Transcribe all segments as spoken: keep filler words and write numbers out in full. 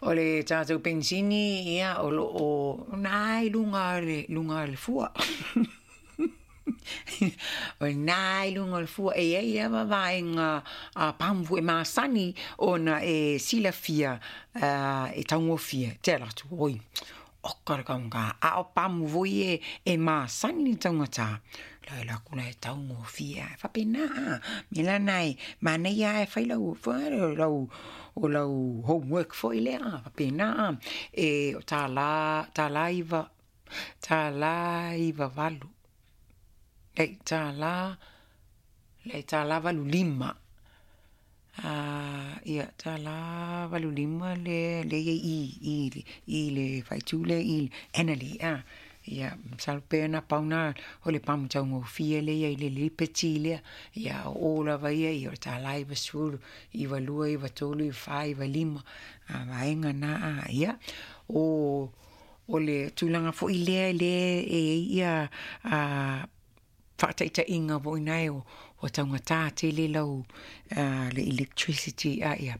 O le tatou penisini, ia, o loo na i luga le luga le fua. O na i luga o le fua e ai lava vaega a pamu e masani ona e silafia e taugofie te alu atu oi oka le taugata a o pamu foi e e masani le taugata la alu atu la e taugofie a faapena a mea la na e manaia a e fai lau lau o lau homework foi lea faapena a e o tala tala iva tala iva valu le tala le tala valu lima a ia tala valu lima le le i i i le faaitu le i Annaly a ia masalo pe na pau na o le pamu taugofie le ia i le Liberty lea ia o lava ia ia o le tala iva sefulu iva lua iva tolu iva fa iva lima a vaega na a ia o o le tulaga foi lea le e ia a faataitaiga foi nae o ua taugata tele lau le electricity a ia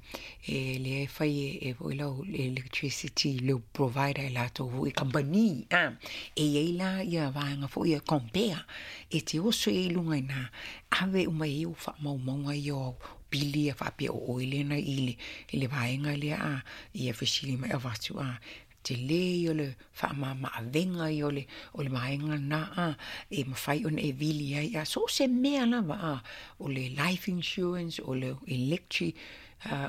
e le fai e foi lau electricity le provider e latou foi kamupani a e iai la ia vaega foi e compare e te oso ai i luga i na ave uma i ai faamaumauga ia o pili e faapea o oe lea na i le i le vaega lea a ia fesili mai avatu a tele o le faamamaavega ia o le o le vaega na a e mafai ona e vili ai a so o se mea lava a o le life insurance o le electric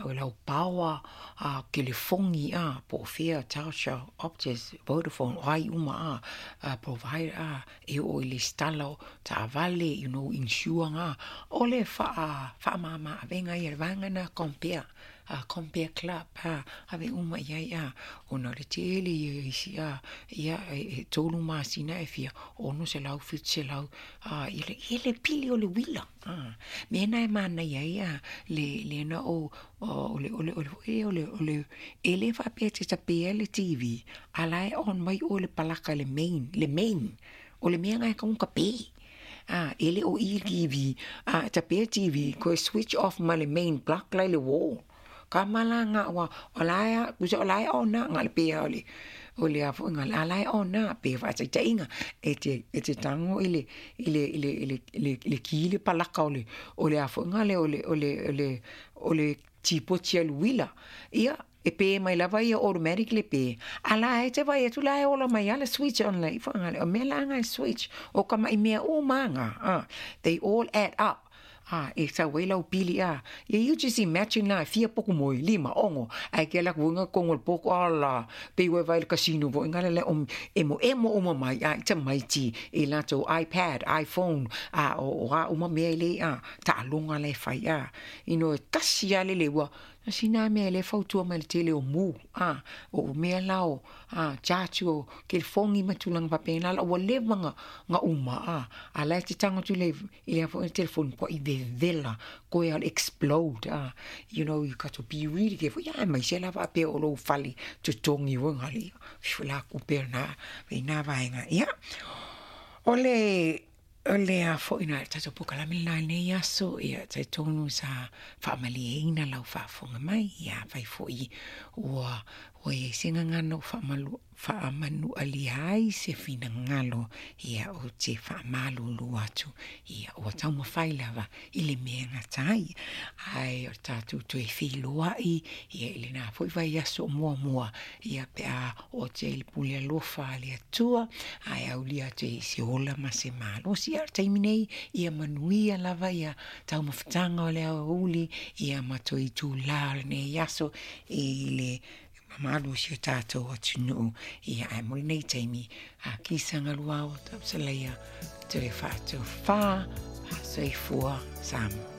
o lau power a telefoni a po o fea Telstra Optus Vodafone o ai uma a provider a e oo i le stala o taavale you know insure ga o le faa faamamaavega ia le vaega na compare a compare club a ave uma i ai a ona o le tele ia isi a ia e tolu masina e fia ono selau fitu selau a ia le ia le pili o le uila a mea na e manaia ai a le le na o o le o le o le o le o le e le faapea e te tapea le T V a la e on mai o le palaka le main le main o le mea na e kaunga pe a e le o i T V a tapea T V ko switch off ma le main plug lai le wall ka malanga wa o la kusa o la ona nga le pea o le o le a foi nga la la ona pe fa taitainga e te e te tango i le i le i le i le le le ki le palaka o le o le a foi nga le o le o le o le o le tipo tia luila ia e pe mai lava ia automatically pe ala e te vai atu la e ola mai ala switch on la ifo nga le o mea la nga switch o ka mai mea o manga ah they all add up ah e sa wei lau pili a ia you just imagine la fia poku moi lima ongo ai ke la kuinga kongo le poko ala pe ue vai le casino vo inga le om emo emo uma mai a ita mai ti e lato iPad iPhone a o a uma mea le a ta alonga le fai a ino kasi a le lewa sina mea le fautua mai le tele o mu a o mea lao a charge o telefongi ma tulaga faapena la ua leva nga nga uma a a la e te tago atu le i le foi telefoni po i vevela koe al explode a you know you got to be really careful ia mai se la faapea o lou fale totogi ua gali la kupe na ina vaega ia o le o le a foi na tatou pokalame la nei aso ia talitonu sa faamalieina lau faafofoga mai ia fai foi ua ua iai se gagana o faamalu faamanualia ai se finagalo ia o te faamalulu atu ia ua taumafai lava i le mea gatai ae o tatou toe feiloai ia i lena foi vaiaso o muamua ia pe a o te i le pule alofa a le Atua ae aulia atu i se ola ma se malosi ia o le taimi nei ia manuia lava ia taumafataga o le aoauli ia ma toe itulā o lenei aso i le mamalu o si o tatou atunuu ia ae mo lenei taimi a kisaga luao tausalaia toe faatofā faasoifua Samoa.